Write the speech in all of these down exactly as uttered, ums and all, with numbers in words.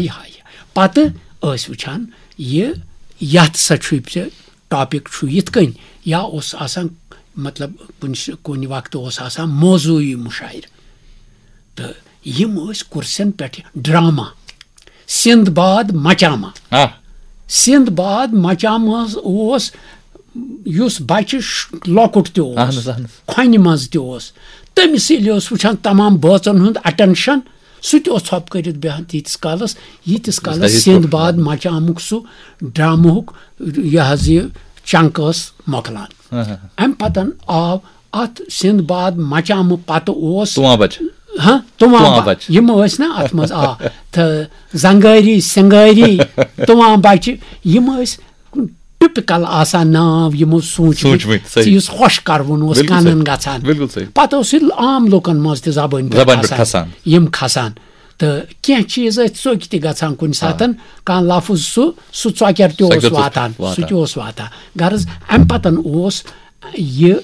یہِ ہا یہِ۔ پتہٕ ٲسۍ وٕچھان یہِ، یتھ سا چھُے ژےٚ ٹاپک چھُ یِتھ کٔنۍ، یا اوس آسان، مطلب، کُنہِ س- کُنہِ وقتہٕ اوس آسان موضوعی مُشاعرٕ۔ تہٕ یِم ٲسۍ کُرسین پٮ۪ٹھ ڈراما، سندباد مچاما۔ آ۔ سندباد مچامہٕ حظ اوس، یُس بچہِ ش- لۄکُٹ تہِ اوس، اہن حظ، اہن حظ۔ کھۄنہِ منٛز تہِ اوس، تٔمِس ییٚلہِ اوس وٕچھان تمام بٲژن ہُنٛد اٹینشن، سُہ تہِ اوس ژھۄپہٕ کٔرِتھ بیٚہان تیٖتِس کالس، ییٖتِس کالس صحیح۔ سندباد مچامُک سُہ ڈرامہُک یہِ حظ یہِ چنک ٲس مۄکلان۔ اہن۔ امہِ پتن آو اتھ سندباد مچامہٕ پتہٕ اوس تُوان بچہِ۔ ہاں، تُوان تُوان بچہِ۔ بچہِ۔ یِم ٲسۍ نا اتھ منٛز، آ، تہٕ زنگٲری سنگٲری، تُوان بچہِ، یِم ٲسۍ ٹپکل آسان ناو یِمو سوٗنٛچمٕتۍ، سوٗنٛچمٕتۍ، صحیح۔ یُس خۄش کرون اوس بِلکُل کنن صحیح۔ گژھان۔ بِلکُل صحیح۔ پتہٕ اوس یہِ عام لُکن منٛز تہِ زبٲنۍ پٮ۪ٹھ زبٲنۍ پٮ۪ٹھ کھسان۔ کھسان۔ یِم کھسان۔ تہٕ کینٛہہ چیٖز ٲسۍ ژوٚکۍ تہِ گژھان کُنہِ ساتن، کانٛہہ لفظ سُہ، سُہ ژۄکٮ۪ر تہِ اوس ژۄکٮ۪ر تہِ اوس واتان، سُہ واتان۔ تہِ اوس واتان۔ غرض، امہِ پتن اوس یہِ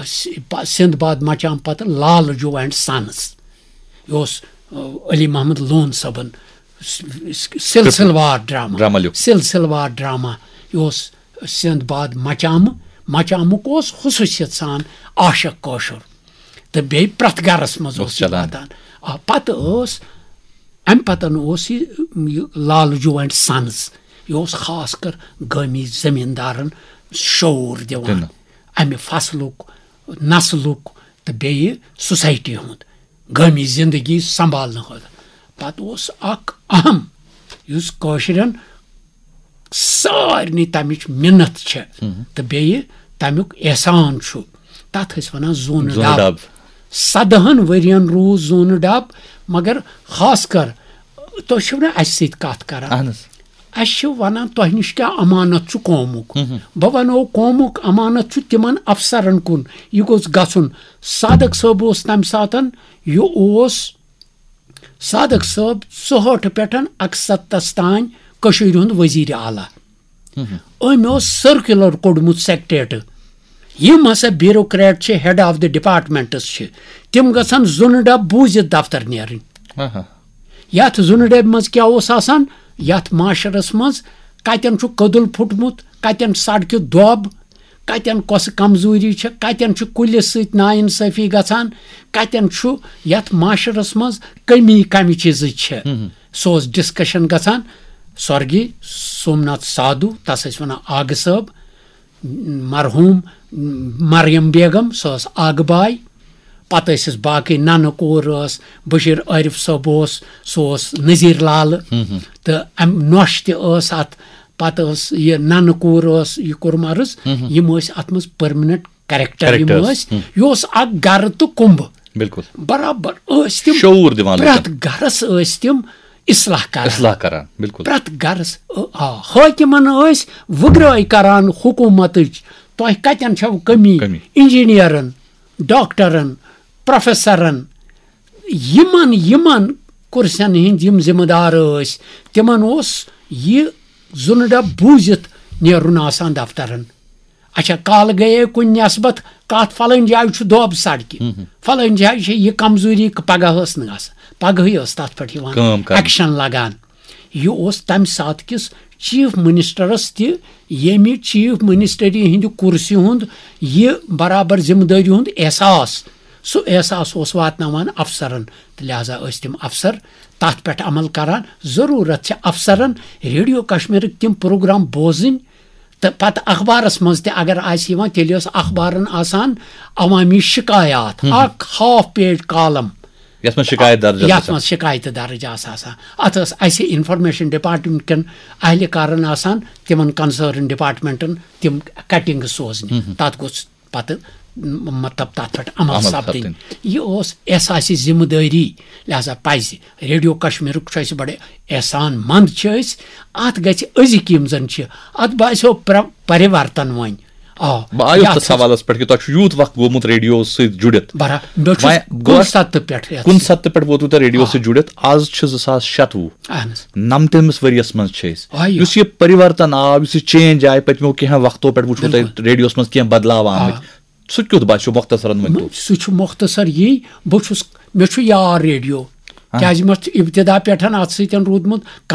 س- پ- سندباد مچام پتہٕ لال جو اینڈ سنز۔ یہِ اوس، آ، علی محمد لون صٲبن س- س- سلسلہٕ وار ڈراما۔ ڈراما لیوٗکھ۔ سلسلہٕ وار ڈراما۔ یہِ اوس سندباد مچامہٕ۔ مچامُک اوس خصوٗصیت سان عاشق کٲشُر۔ تہٕ بیٚیہِ پرٛٮ۪تھ گرس منٛز اوس اوس یہِ چلان۔ واتان۔ آ، پتہٕ ٲس، امہِ پتن اوس یہِ، یہِ لال جو اینڈ سنز۔ یہِ اوس خاص کر گٲمی زمیٖندارن شعوٗر دِوان۔ دِنہٕ۔ امہِ فصلُک، نسلُک تہٕ بیٚیہِ سوسایٹی ہُنٛد، گٲمی زندگی سنبھالنہٕ خٲطرٕ۔ پتہٕ اوس اکھ اہم، یُس کٲشرٮ۪ن سارنٕے تمِچ مِنت چھِ تہٕ بیٚیہِ تمیُک احسان چھُ، تتھ ٲسۍ ونان زوٗنہٕ زوٗنہٕ ڈب۔ ڈب۔ سدہن ؤرین روٗز زوٗنہٕ ڈب، مگر خاص کر تُہۍ چھِو نہٕ اسہِ سۭتۍ کتھ کران۔ اہن حظ۔ اسہِ چھِ ونان، تۄہہِ نِش کیٛاہ امانت چھُ قومُک؟ بہٕ ونو، قومُک امانت چھُ تِمن افسرن کُن۔ یہِ گوٚژھ گژھُن۔ صادق صٲب اوس تمہِ ساتن، یہِ اوس صادق صٲب ژُہٲٹھ پٮ۪ٹھ اکستتس تام کٔشیٖرِ ہُنٛد وزیر اعلیٰ۔ أمۍ اوس سرکیولر کوٚڑمُت سیکریٹریٹ۔ یِم ہسا بیوروکریٹ چھِ، ہیڈ آف دی ڈپارٹمنٹس چھِ، تِم گژھن زُنہٕ ڈب بوٗزِتھ دفتر نیرٕنۍ۔ آہا۔ یتھ زُنہٕ ڈبہِ منٛز کیٛاہ اوس آسان؟ یتھ معاشرس منٛز کتٮ۪ن چھُ کٔدٕل پھُٹمُت، کتٮ۪ن سڑکہِ دۄب، کتٮ۪ن کۄسہٕ کمزوری چھِ، کتٮ۪ن چھُ کُلِس سۭتۍ ناانصٲفی گژھان، کتٮ۪ن چھُ یتھ معاشرس منٛز کمی کمہِ چیٖزٕچ چھِ۔ سُہ اوس ڈسکشن گژھان۔ سورگی سومناتھ سادھو، تس ٲسۍ ونان آگہٕ صٲب، مرحوم مریم بیگم، سۄ ٲس آگہٕ باے۔ پتہٕ ٲسِس باقٕے، ننہٕ کوٗر ٲس، بشیر عارف صٲب اوس، سُہ اوس نذیر لالہٕ۔ تہٕ امہِ نۄش تہِ ٲس اتھ۔ پتہٕ ٲس یہِ ننہٕ کوٗر ٲس، یہِ کوٚرُم عرض، یِم ٲسۍ اتھ منٛز پٔرمننٹ کریکٹر، یِم کریکٹرز۔ ٲسۍ۔ یہِ اوس اکھ گرٕ تہٕ کُمبہٕ۔ بِلکُل۔ برابر ٲسۍ تِم، شعوٗر دِوان لُکن۔ پرٛٮ۪تھ گرس ٲسۍ تِم اصلاح کران۔ اصلاح کران، بِلکُل۔ پرٛٮ۪تھ گرس، آ، حٲکمن ٲسۍ وُگرٲے کران حکوٗمتٕچ، تۄہہِ کتٮ۪ن چھو کمی؟ کمی۔ انجینئرن، ڈاکٹرن، پروفیسرن، یِمن، یِمن کُرسین ہٕنٛدۍ یِم ذمہٕ دار ٲسۍ، تِمن اوس یہِ زُنہٕ ڈب بوٗزِتھ نیرُن آسان دفترن۔ اچھا، کالہٕ گٔیے کُنہِ نٮ۪سبت کتھ، فلٲنۍ جایہِ چھُ دۄب سڑکہِ، فلٲنۍ جایہِ چھِ یہِ کمزوری، پگاہ ٲس نہٕ گژھان، پگہٕے ٲس تتھ پٮ۪ٹھ یِوان کٲم کرنہٕ۔ ایکشن لگان۔ یہِ اوس تمہِ ساتہٕ کِس چیف منسٹرس تہِ، ییٚمہِ چیف منسٹری ہٕنٛدِ کُرسی ہُنٛد یہِ برابر ذمہٕ دٲری ہُنٛد احساس، سُہ احساس اوس واتناوان افسرن، تہٕ لہذا ٲسۍ تِم افسر تتھ پٮ۪ٹھ عمل کران۔ ضروٗرت چھِ افسرن ریڈیو کشمیرٕکۍ تِم پروگرام بوزٕنۍ، تہٕ پتہٕ اخبارس منٛز تہِ اگر آسہِ یِوان، تیٚلہِ ٲس اخبارن آسان عوامی شکایات، اکھ ہاف پیج کالم۔ یتھ منٛز شکایت درج ٲس یتھ گژھان۔ منٛز شکایتہٕ درج آسہٕ آسان۔ اتھ ٲس اسہِ انفارمیشن ڈپارٹمنٹ کٮ۪ن اہلکارن آسان، تِمن کنسرن ڈپارٹمنٹن تِم کٹنگ سوزنہِ۔ تتھ گوٚژھ پتہٕ م- مطلب تتھ پٮ۪ٹھ عمل عمل سپدٕنۍ۔ سپدٕنۍ۔ یہِ اوس احساس ذمہٕ دٲری، لہذا پزِ ریڈیو کشمیرُک چھُ اسہِ بڑٕ احسان مند چھِ أسۍ۔ اتھ گژھِ أزِکۍ یِم زن چھِ، اتھ باسیو پر- پرِورتن وۄنۍ۔ آ، بہٕ آیوس یتھ تتھ سوالس پٮ۪ٹھ کہِ تۄہہِ چھُ یوٗت وقت گوٚمُت ریڈیو سۭتۍ جُڑِتھ۔ برا-، مےٚ چھُ وۄنۍ کُنہِ گوٚو سطحہٕ پٮ۪ٹھ یتھ کُنہِ سۭتۍ۔ سطحہٕ پٮ۪ٹھ ووتوٕ تۄہہِ ریڈیو سۭتۍ جُڑِتھ۔ آز چھِ زٕ ساس شَتوُہ۔ اہن حظ۔ نَمتٲمِس ؤریَس منٛز چھِ أسۍ۔ آ، یہِ۔ یُس یہِ پٔرِورتن آو، یُس یہِ چینج آیہِ پٔتمیو کینٛہہ وقتو پٮ۪ٹھ وٕچھو تۄہہِ ریڈیوَس منٛز کینٛہہ بدلاو آمٕتۍ۔ سُہ کیُتھ باسیو، مۄختصرن ؤنۍ تو۔ سُہ چھُ مۄختصر یی، بہٕ چھُس، مےٚ چھُ یار ریڈیو، کیازِ مےٚ چھُ ابتدا پٮ۪ٹھ اتھ سۭتۍ روٗدمُت۔